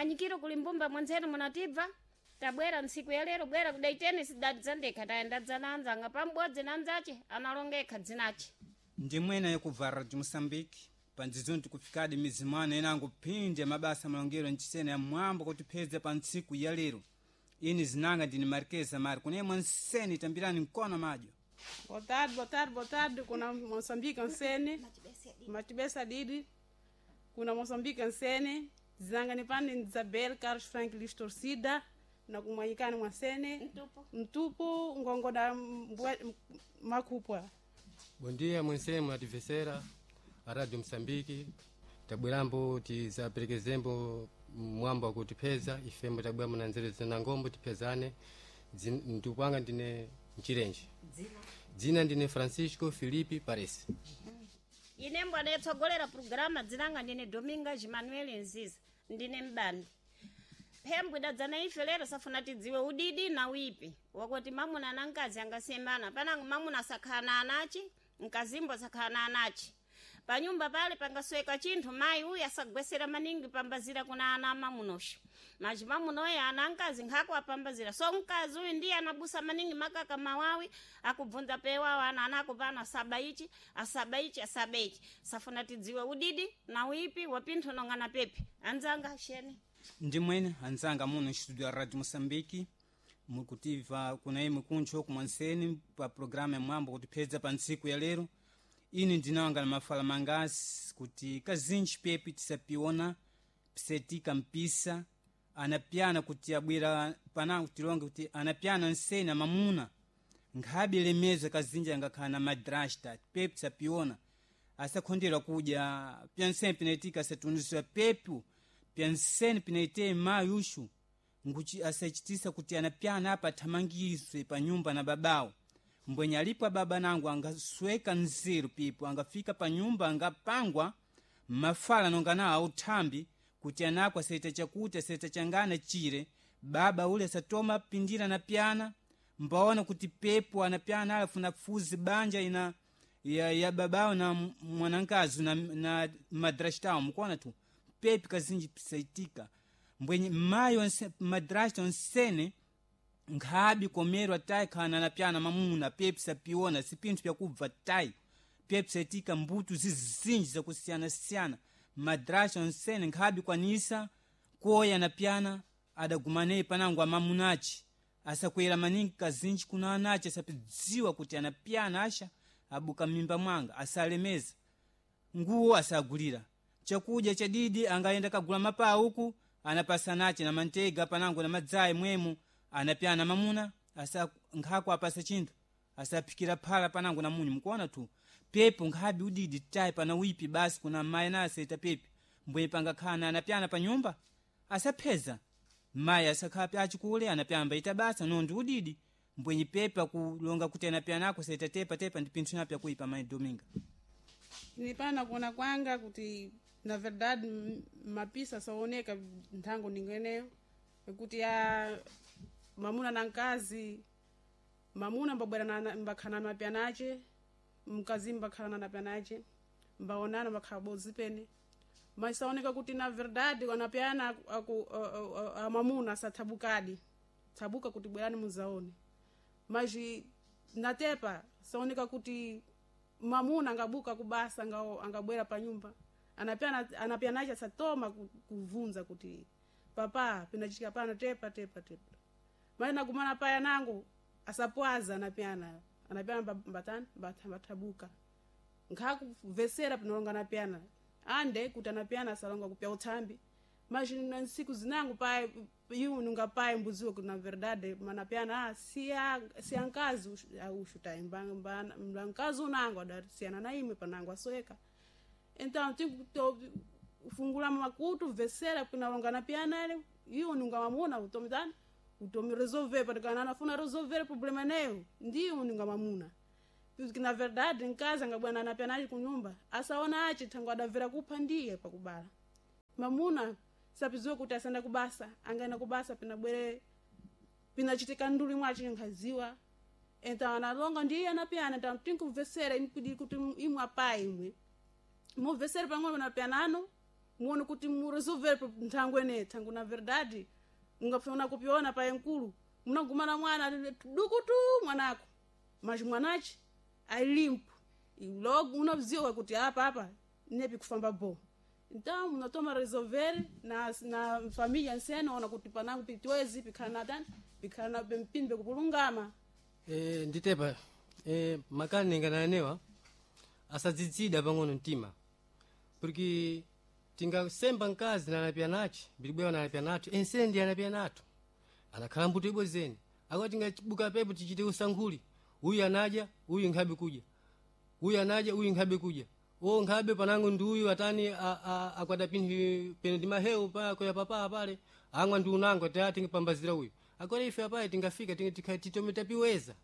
Mwanyikiro kuli mbumba mwanzenu munatibva tabwera ntsiku ya lero bwera kudaiteni sidadzandekha tayendadza na anzanga pambodzi na anzace analongekha dzinace. Ndimwena yakubva Radio Moçambique pandzidzoni tikufikadi mizimano inango phindi ya mabasa malongero ncisena ya mwambo kutiphedza pa ntsiku ya lero. Ini zinanga ndini Marquesa Mari kunemwe nseni tambirani mkono madyo. Boa tarde, boa tarde, boa tarde. Kuna Moçambique nsene. Matibesa Didi. Kuna Moçambique nsene. Zinanga ni pani Isabel Carlos Frank Luis Torcida. Na kumwanyikani mwasene. Mtupu. Mtupu ngongoda makupwa. Bom dia, mwensemu ativesera a Radio Moçambique. Tabwerambo tizaperekezembo mwambo wakutipeza ifembo tabweramo na nzeru zina ngombo tiphezane. Mtupu wanga ndine Mchirenje. Dzina ndine Francisco Filipe Pares. Ine mbwana yetsogolera programa dzinanga ndine Dominga Jimanuel Nziza ndine mbandi. Phembwe idadzana ife lero safuna tidziwe udidi na wipi wakuti mamuna na mkazi angasemana panango mamuna asakhala na anachi mkazimbo asakhala na anachi panyumba pale pangasweka chinthu mayi uyu asagwesera maningi pambazira kuna ana amamunosho machi mamunoyo ana mkazi nkhako apambazira so mkazi uyu ndiye anabusa maningi makaka mawawi akubvunza pewawo ana anako pano asaba ichi asaba ichi asaba ichi safuna tidziwe udidi na wipi wapinthu nong'ana pepi anzanga sheni. Ndimwene anzanga muno nstudio ya Radio Moçambique mukutiva kuna imwe kuntcho kumwanseni pa programa ya mwambo kutiphedza pa ntsiku ya lero. Ini ndinawanga na mafala mangasi kuti kazinji pepi tisapiona pisetika mpisa anapyana kuti abwera panango tilonge kuti anapyana nseni amamuna nkhabe lemeza kazinji angakhala na madrasta pepi tisapiona asakhonderwa kudya pyanseni pinaitika asatunisiwa pepu pyanseni pinaite mayi uxu nkuti asachitisa kuti anapyana apa athamangiswe pa nyumba na babawo mbwenye alipo ababa nangu angasweka nzeru pipo angafika pa nyumba angapangwa mafala nonga nawo authambi kuti anako asaita chakuti asaita changana chire baba ule asatoma pindira na pyana mbaona kuti pepo anapyana alafuna fuzi banja ina ya babawo na mwanankazi na madrastawo mukuona tu pepi kazinji pisaitika mbwenye mayi madrasta onsene nkhabi komerwa tayi khana na pyana mamuna pepi sapiona sipinthu pyakubva tayi pepi saitika mbutu zizinji zakusiyanasiyana madrasta onsene nkhabi kwanisa koya na pyana adagumaneyi panango amamunaci asakwera maningi kazinji kuna anaci asapidziwa kuti anapyana asha abuka mimba mwanga asalemeza nguwo asagulira chakudya chadidi angaenda kagula mapaa uku anapasanace na mantega panango na madzayi mwemo anapyana mamuna asa nkhako apasa chinthu asaphikira phala panango na munyu mukuona tu pepo nkhabi udidi tayi pana wipi basi kuna mayi na asaita pepi mbwenye pangakhala anapyana pa nyumba asapheza mayi asakhala pyachikule anapyana mbaita basa nondi udidi mbwenye pepi akulonga kuti anapyana ako asaita tepa tepa ndi pinthu napo yakuipa mayi Dominga. Nipana kuona kwanga kuti na verdade mapisa saoneka nthango ningeneyo kuti ya mamuna na mkazi mamuna mbabwera mbakhala na mapyana ace mkazi mbakhala na napyana ace mbaonana mbakhala bodzi pene mas saoneka kuti na verdade anapyana mamuna asathabukadi thabuka kuti bwerani muzaone mas natepa saoneka kuti mamuna angabuka kubasa angabwera pa nyumba anapyanache asatoma kuvunza kuti papa pinachitika pano tepa tepa tepa mali nagumana paya nangu asapwaza anapyana anapyana mbatani mbathabuka nkhakuvesera pinalonga anapyana ande kuti anapyana asalonga kupya uthambi mas na nsiku zinangu pai iu nunga pai mbuziwe kuti na verdade manapyana siya nkazi ushutai mba nkazi unango adatiyana na imwe panango asoeka então fungula makutu vesera pinalonga napyana ele iwo nunga mamuna utomitani utomi resolver patikana anafuna resolver problema neyo ndiyo nunga mamuna porque na verdade nkazi angabwana napyana kunyumba asaona achi thango adavera kupha ndiye pakubala mamuna sapiziwe kuti asenda kubasa angaenda kubasa pinabwere pinachitika nduli mwachi nkhaziwa então analonga ndiye anapyana então tinkuvesera impidi kuti imwe apa imwe muvesere pang'ono panapyanano. Muone kuti muresolver nthango ene thango na verdade ungafuna kupiona paye nkulu munagumana mwana dukutu mwanako mas mwanachi ailimpo logo unaziwa kuti apa apa nepi kufamba bo. Então munatoma resolver na família nsena ona kuti panango pitwezi pikhala na tani pikhala na mpini kupulungama. Nditepa makani ningananewa asadzidzida pang'ono mtima porque tingasemba mkazi nanapya nachi bilibwewa nanapya nathu ensendi anapya nathu anakhala mbuto ibwezeni akuti tingabuka pepo tichite usankhuli uyu anadya uyu nkhabe kudya uyu anadya uyu nkhabe kudya o nkhabe panango ndi uyu atani akwata pinthu peno ndi mahewu pa koya papa pale amwa ndi unango ta tingapambazira uyu agora ife apaye tingafika titome tapiweza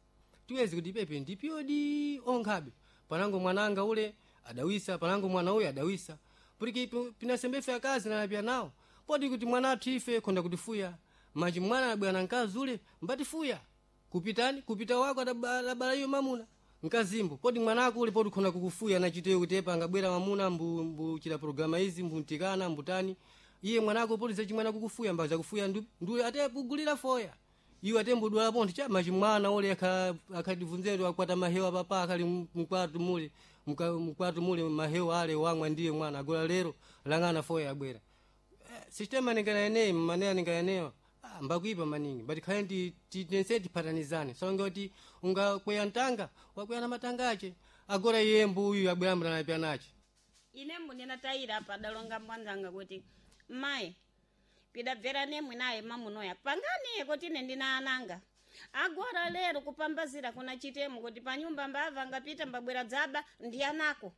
tiweze kuti pepe ndipyodi onkhabe panango mwananga ule adawisa panango mwana uyu adawisa porque pinasembe ife akazi nanapya nawo poti kuti mwana athu ife khonda kutifuya manji mwana anabwera na mkazi ule mbatifuya kupitani kupita wako adabala iyo mamuna mkazimbo poti mwanako ule poti khonda kukufuya nachiteyo kuti epa angabwera mamuna mbuchita programa izi mbuntikana mbutani iye mwanako poti zachimwana kukufuya mba zakufuya ndule ate kugulira foya iwe ate mbudwala pontho cha machi mwana ule akhatibvunzetu akwata mahewa papa akhali mkwatu mule mkwatu mule mahewa ale wamwa ndiye mwana agola lero lang'ana foya abwera. Sistema ninganeneyi manena ninganenewa mbakuipa maningi but khale tense tiphatanizane songe kuti ungakweya mtanga wakweya na matanga ache agora iye mbuyu abwera mnanapya nache. Ine mbunena tayira apa adalonga mbwanzanga kuti mayi pidabvera nemwe naye mamunoya pangani kuti ine ndina ananga agora lero kupambazira kuna chitemo kuti panyumba mbava ngapita mbabwera dzaba ndi anako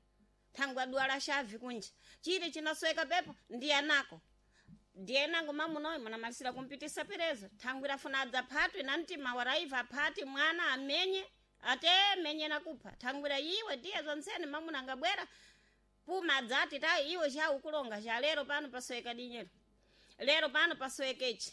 thangwe adwala shavi kunja chili chinasweka pepo ndi anako ndiye nango mamunoyo munamalisira kumpitisa perezo thangwe rafuna adzaphatwe na mtima waraiva aphati mwana amenye ate menye nakupha thangwira iwe ndiye zontsene mamuna angabwera puma adzati ta iwe cha ukulonga cha lero pano pasweka dinyero lero pano paswekechi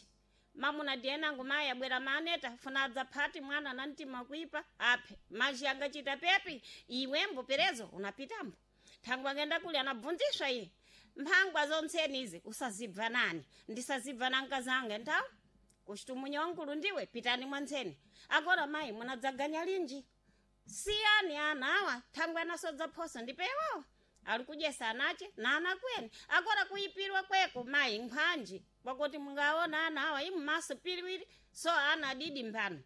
mamuna ndiye nango mayi abwera maneta funa adzaphati mwana na mtima kuipa aphe maji angachita pepi iwembo perezo unapitambo thangwe angenda kuli anabvunziswa iye mphangwa zontseni izi usazibva nani ndisazibva na mkazanga nthawi kuchitumunya wankulu ndiwe pitani mwantseni agora mayi munadzaganya linji siyani ana awa thangwe anasodza phoso ndipewawo ali kudyesa anache na ana kweni agora kuipirwa kweko mayi nkhwanji kwakuti mungaona ana awa imu maso piriwiri so ana adidi mphano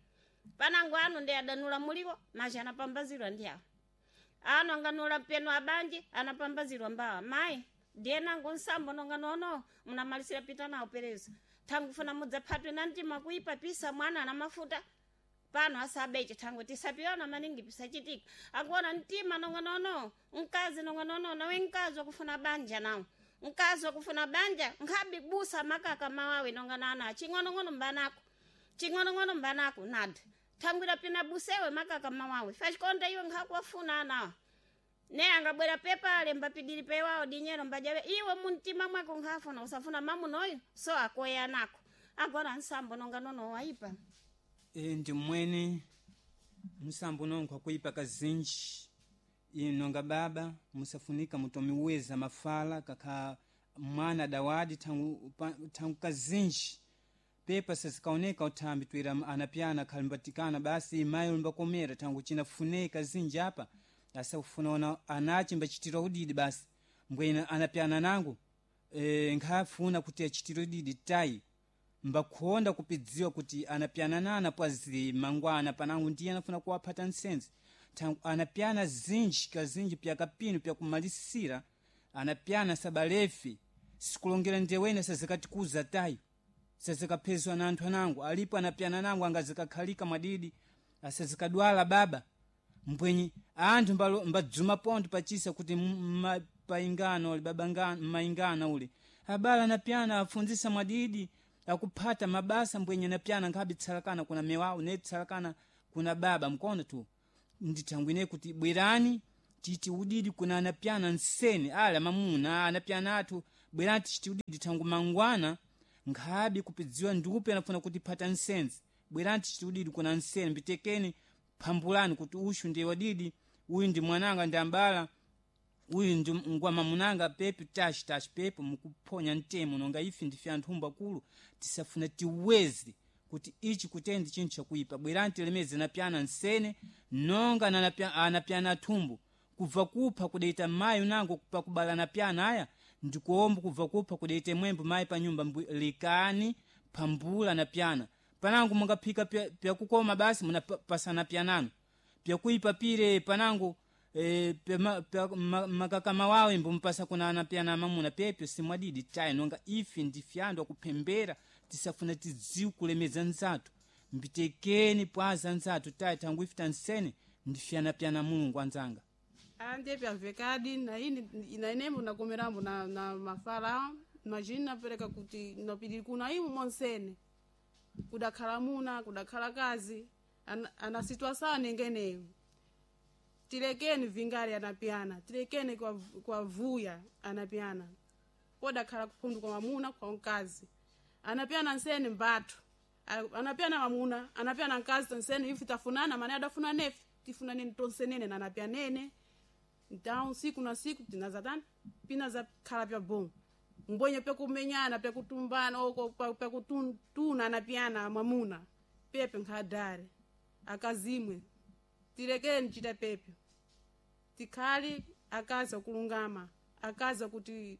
panango anu ndi adanula muliwo maji anapambazirwa ndi awa ano anganula peno abanje anapambazirwa mbawa mayi ndiye nango nsambo nonga nono munamalisira pita nawo perezo thangu funa mudzaphatwe na mtima kuipa pisa mwana ana mafuta pano asabeche thangu tisapiona maningi pisachitika akuona mtima nonga nono mkazi nonga nono nawe mkazi wakufuna banja nawo mkazi wakufuna banja nkhabi busa makaka mawawe nonga nana ching'onong'ono mbanako ching'onong'ono mbanako nada thangwira pina busewe makaka mawawe fachikonda iwe nkhakuwafuna anawa ne angabwera pepale mbapidiri pewawo dinyero mbajawe iwe muntima mwako nkhafuna usafuna mamunoyo so akoya nako agora nsambo nonga nono waipa. Ndi mwene msambo nongo akuipa kazinji inonga baba musafunika mutomiweza mafala kakha mwana dawadi thangu kazinji pepa sazikaoneka uthambi twira anapyana khalimbatikana basi imayi limbakomera thangu chinafuneka kazinji apa asakufuna ona anachi mbachitira udidi basi mbwena anapyana nangu nkhafuna kuti achitire udidi tayi mbakhonda kupidziwa kuti anapyana nana pwazi mangwana panangu ndiye anafuna kuwaphata nsenzi thangu anapyana zinji kazinji pyakapino pyakumalisira anapyana sabalefi sikulongera ndewene sazikatikuza tayi sazikaphezwa na anthu anangu alipo anapyana nangu angazikakhalika mwadidi asazikadwala baba mbwenyi anthu mbadzuma pontho pachisa kuti paingana ule baba mmaingana ule abala anapyana afunzisa mwadidi akuphata mabasa mbwenye anapyana nkhabe tsalakana kuna mewawo ne tsalakana kuna baba mkono tu ndithangwine kuti bwerani titi udidi kuna anapyana nseni ala mamuna anapyana athu bwerani tichiti udidi thangu mangwana nkhabe kupidziwa ndiupe anafuna kuti phata nsenzi bwerani tichiti udidi kuna nseni mbitekeni phambulani kuti ushu ndiye wadidi uyu ndi mwananga ndi ambala Uyu ndi ngwa mamunanga pepe tashi tashi pepe mukuphonya mtemo nonga ife ndife anthu akulu tisafuna tiweze kuti ichi kutendi chinthu chakuipa. Bwerani tilemeze napyana nsene nonga anapyana athumbu kubva kupha kudaita mayi unango pakubala napyana aya ndikuomba kubva kupha kudaita mwembo mayi pa nyumba likani phambula napyana panango mungaphika pyakukoma basi munapasana pyanano pyakuipa pire panango makakama wawe mbumpasa kuna anapyana mamuna pepyo simwadidi tayi nonga ife ndife anthu akuphembera tisafuna tidziwe kulemeza nzathu mbitekeni pwaza nzathu tayi thangu ife tansene ndife anapyana Mulungu anzanga. Ande pyavekadi na ini na inembo nakomerambo na mafala majini napereka kuti napidiri kuna imu monsene kudakhala muna kudakhala kazi ana situação nengeneyo tilekeni vingale anapyana tilekeni kwa vuya anapyana podakhala kuphundu kwa mamuna kwa mkazi anapyana nsene mbathu anapyana mamuna anapyana mkazi tonsene ife tafunana mane adafuna nefe tifunane tonsenene na anapyanene então siku na siku tinazatani pinazakhala pya bom mbwenye pyakumenyana pyakutumbana oko pyakutuna anapyana mwamuna pepe nkhadare akazimwe tilekeni chita pepe tikhali akazi akulungama akazi akuti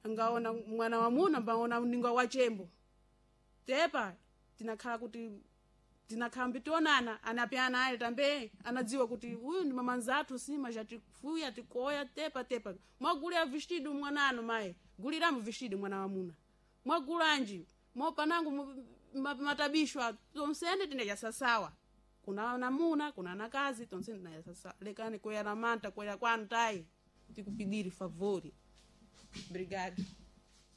angaona mwana wamuna mbaona ninga wachembo tepa tinakhala kuti tinakhala mbitionana anapyana ale tambe anadziwa kuti uyu ndi mamanzathu sima jatifuya tikoya tepa tepa mwagulira vestido mwanano mayi guliramu vestido mwana wamuna mwagulanji mopanangu matabishwa tonsene tinajasasawa kuna namuna kuna nakazi tonsene tinajasasawa lekani kwera manta kwera kwanu tayi tikupidiri favori brigade.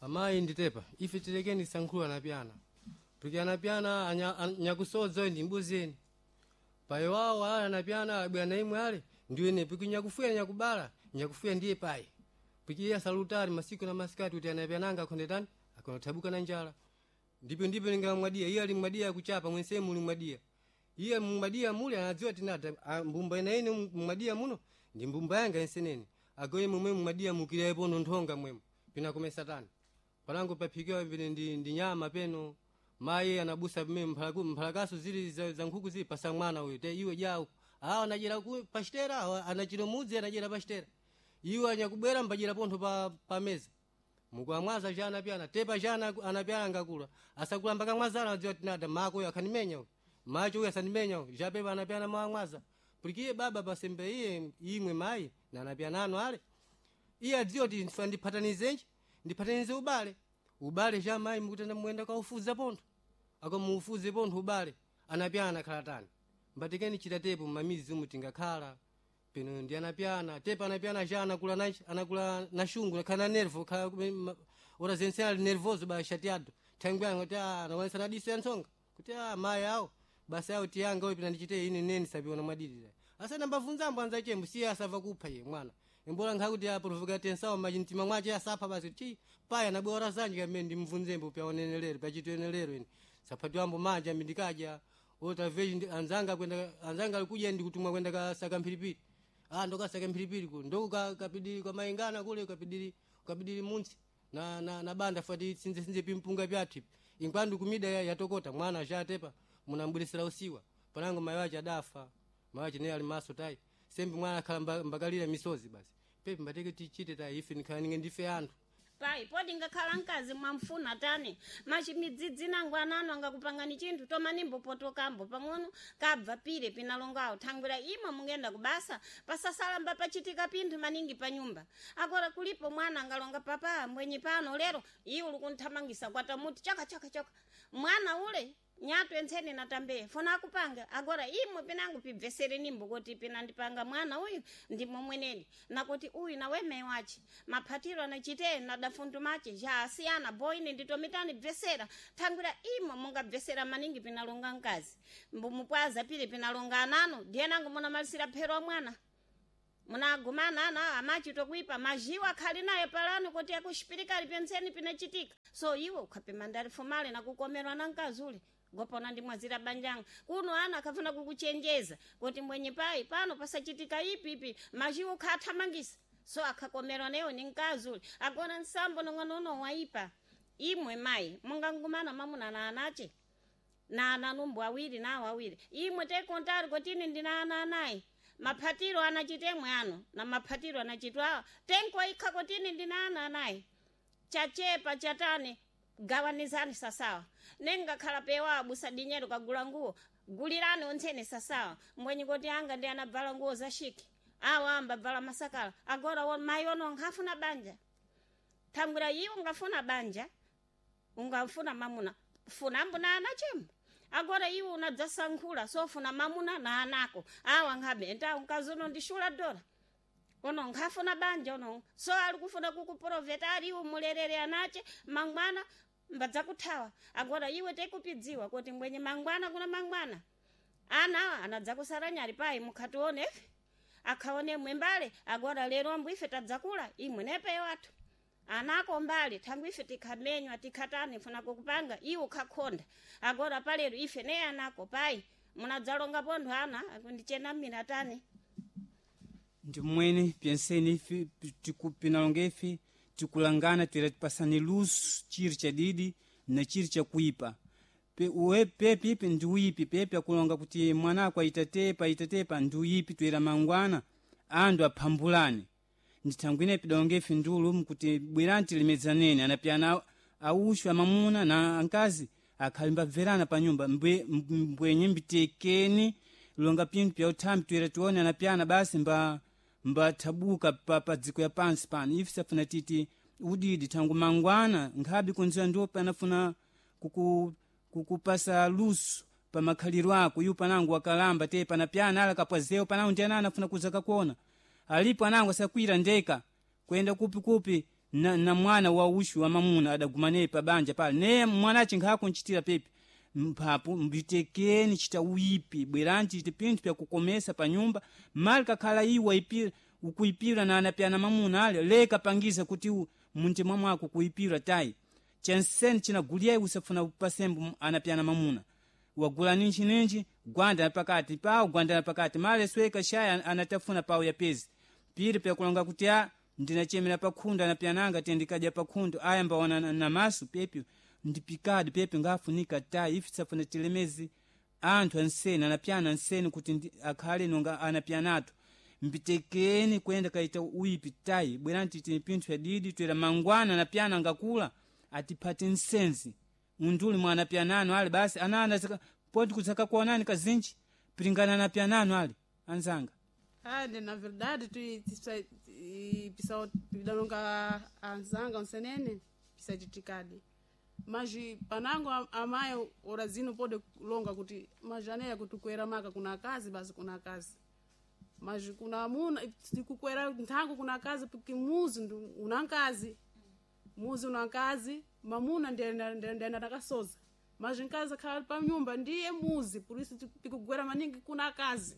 Amayi nditepa ife tilekeni sankhulu anapyana porque anapyana nyakusodzo ndi mbuzeni payi wawo ale anapyana abwera na imwe ale ndiwene piki nyakufuya nyakubala nyakufuya ndiye payi piki iye asalutali masiku na masikati kuti anapyananga akhondetani akhondathabuka na njala ndipo ndipo ningamwadiya iye ali mwadiya akuchapa mwensemu muli mwadiya iye mmwadiya muli anadziwa tinata mbumba ina ine mmwadiya muno ndi mbumba yanga ensenene agoye momwe mmwadiya mukirayepo nthonga mwemo pinakomesa tani palango paphikiwa pene ndi nyama peno mayi anabusa pamene mphalakaso zili za nkhuku zili pasa mwana uyu te iwe jawo awa anachera pachitera awa anachira mudzi anachera pachitera iwe anyakubwera mbachera pontho pa meza mukuamwaza cha anapyana tepa cha anapyana ngakula asakula mpaka mwazala adziwa tinada mako uyu akhanimenya uyu macho uyu asanimenya uyu japepa anapyana mwamwaza pulikiye baba pasembe iye imwe mayi na anapyanano ale iye adziwa kuti ndiphatanizenji ndiphatanize ubale ubale cha mayi mukutenda muyenda kaufuza pontho akamuufuze pontho ubale anapyana khala tani mbatikeni chita tepo mmamizi umu tingakhala peno ndi anapyana tepo anapyana cha anakula nachi anakula na shungu nakhala na nervo khala ora zense ali nervoso ba chateado thangwe kuti anaonesa na diso ya ntsonga kuti mayi awo basa yawo tiyanga uyu pina ndichite ine neni sapiona mwadidira asana mbavunzambo anza chembo siye asava kupha ye mwana imbola nkhakuti aprovoka tensawo machi mtima mwache asapha basi chi paya nabwera zanje kamene ndimvunzembo pyaonenelero pyachitenelero ine saphatiwambo manja mindikaja otaveji anzanga kwenda anzanga alikuja ndikutumwa kwenda kasaka mphiripiri ndokasaka mphiripiri ku ndoko kapidiri kwa maingana kule kapidiri munsi na banda fati sinze sinze pimpunga pyathu inkwandu kumida yatokota mwana achatepa munambwirisira usiwa panango mayi wache adafa mayi wache naye ali maso tayi sembi mwana akhala mbakalira misozi basi pepe mbateke tichite tayi ife nikhala ninge ndife anthu Pai podi ngakhala mkazi mwamfuna tani machimidzidzi nangu ananu angakupangani chinthu tomanimbopotokambo pang'ono kabva pire pinalongawo thangwira imwe mungenda kubasa pasasalamba pachitika pinthu maningi pa nyumba akora kulipo mwana angalonga papa mbwenyi pano lero iwe ulikunthamangisa kwatamuti chaka chaka chaka mwana ule nyatu entsene natambe fona akupanga agora imwe pinangu pibvesere nimbo kuti pinandipanga mwana uyu ndimo mweneni nakuti uyu nawe mai wache maphatiro anachite nadafundu mache ja asiyana boine nditomitani bvesera thangwira imwe mungabvesera maningi pinalonga mkazi mbumupwaza pili pinalonga anano ndiyenangu munamalisira phero wa mwana munagumana ana amachito kuipa majiwa akhali naye palano kuti akuxipirikali pentseni pinachitika so iwe ukhapima ndali fumale nakukomerwa na mkazi ule gopona ndimwazira banjanga kuno ana akafuna kukuchenjeza kuti mwenye pai pano pasachitika ipi ipi majiwa ukhathamangisa. So akhakomerwa newo ni mkazi uli agora nsambo nong'ono waipa. Imwe mayi mungangumana mamuna na anache na ananumbu awiri nawo awiri, imwe tekontari kotini ndina ana anayi, maphatiro anachitemwe ano na maphatiro anachitwa tenko ikha kotini ndina ana anayi, chachepa chatani gawanizani sasawa, nengakhala pewa abusa dinyero kagula nguwo gulirani ontsene sasawa, mbwenyi koti anga ndi anabvala nguwo za shiki awa ambabvala masakala. Agora mayi ono nkhafuna banja thangwira iwo ungafuna banja ungafuna mamuna funambo na ana chembo. Agora iwe unadzasankhula sofuna mamuna na anako awa nkhabe enta mkazi uno ndishula dora uno nkhafuna banja uno so ali kufuna kukuprofeta ali iwe mulerere anache mangwana mbadzakuthawa. Agora iwe tekupidziwa kuti mbwenye mangwana kuna mangwana ana anadzakusara nyali payi mukhatione ife akhaone mwembale. Agora lero ambu ife tadzakula imwe nepeyo athu anako mbali thangu ife tikhamenywa tikhatani funa kukupanga iwe ukhakhonda. Agora palero ife ne anako payi munadzalonga pontho ana akundichenamira tani. Ndi mmwene pyenseni ife pinalonga ife tikulangana toera tipasane luso chiri chadidi na chiri chakuipa. Pepi ipi ndi uipi pepi akulonga kuti mwanako aitatepa aitatepa ndi uipi toera mangwana andu aphambulane. Ndithangwi ine pidalonga ife ndiulumu kuti bwerani tilemedzaneni anapyana auxwa amamuna na ankazi akhali mbabverana pa nyumba mbwenye mbitekeni longa pinthu pya uthambi toera tione anapyana basi mbathabuka pa dziko ya pansi pano. Ife safuna titi udidi thangu mangwana nkhabe kunziwa ndiwo panafuna kukupasa luso pa makhaliro ako iwo panango wakalamba te panapyana ala kapwazewo panango ndi anana afuna kuza kakuona alipo anango asakwira ndeka kwenda kupikupi na mwana wa uxu wa mamuna adagumaneyo pa banja pale ne mwanache nkhakunchitira pepi mphapo mbitekeni chita uipi bwerani chite pinthu pyakukomesa pa nyumba mali kakhala iwo ukuipira na anapyana mamuna ale leka pangiza kuti muntima mwako kuipira tayi chanseni chinaguliyayi usafuna upasembo anapyana mamuna wagula ninji ninji gwanda pakati pawo gwanda pakati mali sweka shaya anatafuna pawo yapezi piri pyakulonga kuti a ndinachemera pakhundu anapyananga tendikadya pakhundu aya mbaona namasu pepi ndipikadi pepi ngafunika tayi ife safuna tilemezi anthu anseni anapyana anseni kuti akhale nonga anapyanatu mbitekeni kwenda kaita uipi tayi bwerani titi pinthu yadidi toera mangwana anapyana ngakula atiphate nsenzi unduli mwa anapyanano ale basi anana poti kudzakakuonani kazinji piringana anapyanano ale anzanga. Ande na verdade pidalonga anzanga onsenene pisachitikadi mas panango amayi orazino pode longa kuti majaneya kuti kuera maka kuna kazi basi kuna kazi mas kuna amuna tikukwera nthango kuna kazi porque muzi una nkazi muzi una nkazi mamuna ndiyena takasoza mas nkazi akhala pa nyumba ndiye muzi por isso tikugwera maningi kuna kazi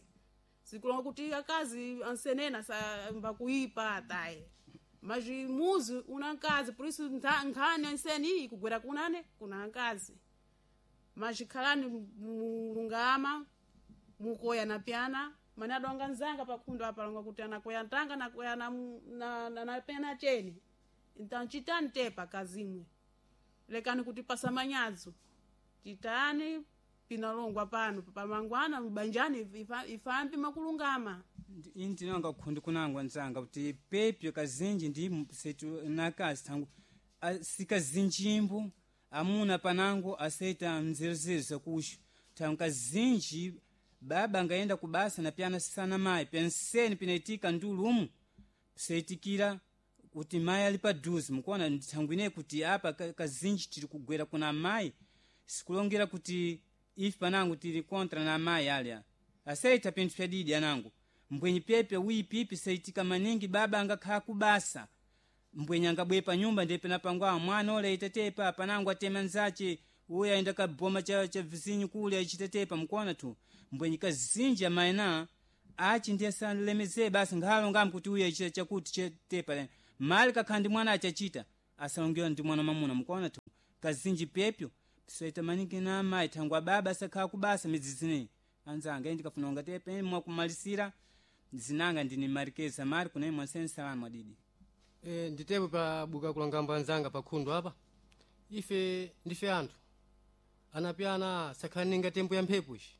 sikulonga kuti akazi ansenena mbakuipa atayi mas muzi una nkazi por isso nkhani anseni iyi kugwera kunane kuna nkazi mas khalani mulungama mukoya na pyana mane adonga nzanga pakhundu apa alonga kuti anakoya ntanga nakoya na pyana cheni então chitani tepa kazimwe lekani kuti pasamanyadzo chitani pinalongwa pano pamangwana mbanjani ifambi makulungama. Ini ndinonga khundi kunangwa nzanga kuti pepyo kazinji ndi setu nakazi thangu sikazinjimbo amuna panango aseita mzerezere zakuxo thangu kazinji baba angayenda kubasa na pyana sisana mayi penseni pinaitika ndulumu seitikira kuti mayi ali paduze mukuona thangwi ineyi kuti apa kazinji tiri kugwera kuna mayi sikulongera kuti ife panango tili kontra na amayi alya aseita pinthu pyadidi anango mbwenyi pepe wipipi seitika maningi baba angakhala kubasa mbwenyi angabwe pa nyumba ndiye penapangwa mwana ole itetepa panango atema nzache uyo ayenda kaboma cha vizinyu kule achitetepa mukuona tu mbwenyi kazinji amayina achi ndiye salemeze basi nkhalongamu kuti uyo achita chakuti chetepa mali kakhala ndi mwana achachita asalongewa ndi mwana mamuna mukuona tu kazinji pepyo pisoita maningi na amayi thangwa baba asakhala kubasa midzidzineyi anzanga ine ndikafuna ungatepe mwakumalisira. Zinanga ndini Marquesa Marco naye mwaseni salamu adidi. Nditepo pa buka kulangamba anzanga pa khundu apa ife ndife anthu anapyana sakhaninga tembo ya mphepo ici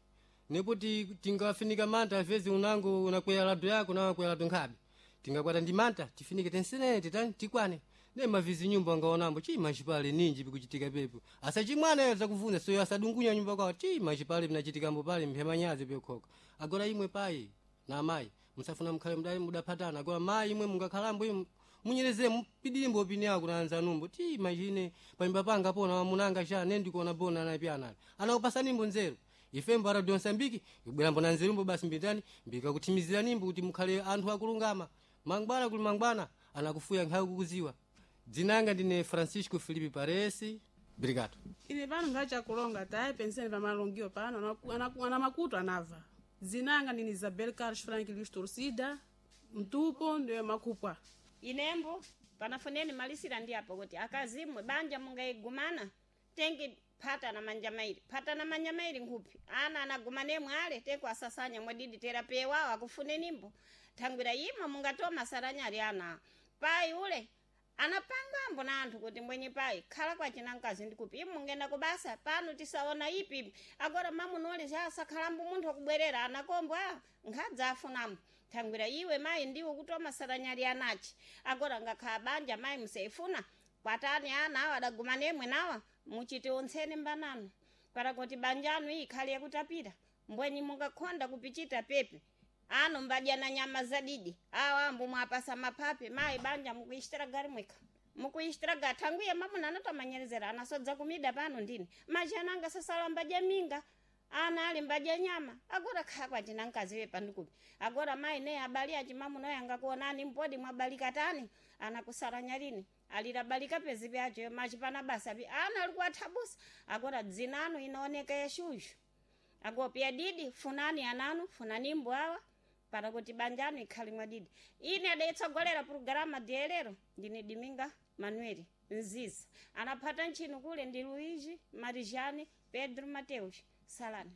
nepo tingafinika manta avezi unango unakwera lado yako nawe akwera lado nkhabe tingakwata ndi manta tifinike tensenene titani tikwane ne mavizi nyumba angaonambo chima chipale ninji pikuchitika pepo asachimwana zakuvuna soyo asadungunya nyumba kwawo chima chipale pinachitika pale mphemanyazi pekhoka agora imwe payi na amayi musafuna mukhale mudali mudaphatana agora mayi imwe mungakhalambo imwe munyereze mpidilimbo opini yako na anzanumbo ti machine panyumba panga pona wamunanga sha ne ndikuona bona anapyanali anakupasanimbo nzeru ifembo a Radio Msambiki ibwerambo na nzerumbo basi mbitani mbikakuthimiziranimbo kuti mukhale anthu akulungama mangwana kuli mangwana anakufuya nkhawi kukuziwa dzinanga ndine Francisco Felipe Paresi brigado. Ine pano ngachakulonga tayi penseni pamalongio pano ana makutu anava. Zinanga ndini Isabel Carlos Frank Luis Torcida mtupo ndiyo makupwa. Inembo panafuneni malisira ndi apo kuti akazimwe banja mungaigumana tengi phata na manja mairi phata na manja mairi nkhupi ana anagumanemwe ale teku asasanya mwadidi terape wawo akufunenimbo thangwira imwe mungatoma saranyali ana payi ule anapangambo na anthu kuti mwenye payi khala kwacina mkazi ndikupi imwe mungenda kubasa pano tisaona ipi agora mamunole chasakhalambo munthu akubwerera anakombo a nkhadza afunamo thangwira iwe mayi ndiwe kutoma saranyali anachi agora ngakhala banja mayi musaifuna kwatani ana awa adagumanemwe nawa muchite ontsene mbanano para kuti banjanu iyi ikhale yakutapira mbwenyi mungakhonda kupichita pepe ano mbadya na nyama zadidi awa ambo mwapasa maphape mayi banja mukuichitira gari mweka mukuichitira gari thangwiye mamuna anatomanyerezera anasodza kumida pano ndini majana anga sasala mbadya minga ana ali mbadya nyama agora khala kwacina mkaziwe pandikupi agora mayi ne abali achimamunoyo angakuonani mpodi mwabalika tani anakusaranya lini alirabalika pezi pyacho machipana basa pi ana ali kuwathabusa agora dzinanu inaoneka yashushu agopya didi funani ananu funani mbwawa para kuti banjanu ikhale mwadidi ine adaitsogolera purogirama diyelero ndine Diminga Manueli Nziza anaphata ntchino kule ndi Luigi Marijani Pedro Mateus Salani.